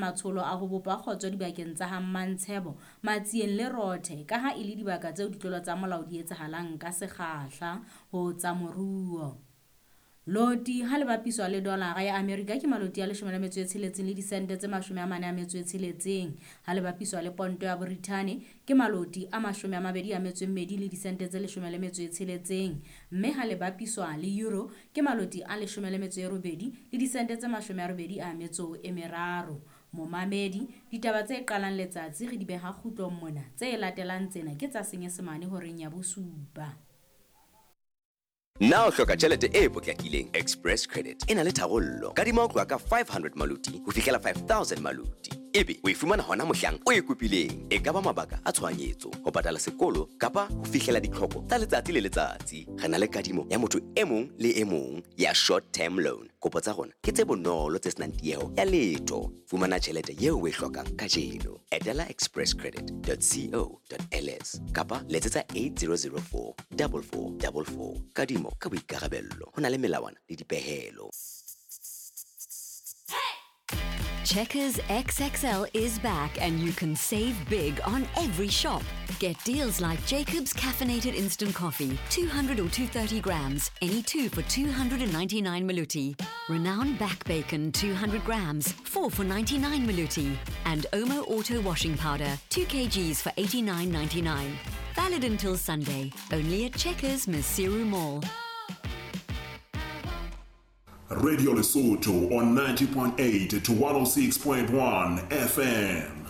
matsholo a ho bopa kgotso dibakeng tsa ha Mmantshebo, Matsieng le Rothe kaha e le dibaka tseo ditlolo tsa molao di etsahalang ka sekgahla ho tsa moruo. Loti ha le bapiswa le dolara ya Amerika ke maloti a 16 le disente tse 46. Ha le bapiswa le ponto ya Borithane ke maloti a 22 le disente tse 16, mme ha le bapiswa le euro ke maloti a 18 le disente tse 83. Momamedi, ditaba tse qalang letsatsi re di beha kgutlong mona, tse latelang tsena ke tsa Senyesemane horeng ya bosupa. Na o hloka tjhelete e potlakileng? Express Credit e na le tharollo. Kadima ho tloha ka 500 maluti ho fihlela 5000 maluti. Ebe o e fumana hona mohlang o e kopileng. E ka ba mabaka a tshohanyetso, ho patala sekolo kapa ho fihlela ditlhoko tsa letsatsi le letsatsi. Re na le kadimo ya motho e mong le e mong ya short term loan. Kopo tsa rona ke tse bonolo tse senang tieho ya letho. Fumana tjhelete eo o e hlokang kajeno. Etela expresscredit.co.ls kapa letsetsa 8004 4444. Kadimo ka boikarabello. Ho na le melawana le dipehelo. Checkers XXL is back and you can save big on every shop. Get deals like Jacob's Caffeinated Instant Coffee, 200 or 230 grams, any two for 299 Maluti. Renown Back Bacon, 200 grams, 4 for 99 Maluti. And Omo Auto Washing Powder, 2 kgs for 89.99. Valid until Sunday, only at Checkers Maseru Mall. Radio Lesotho on 90.8 to 106.1 FM.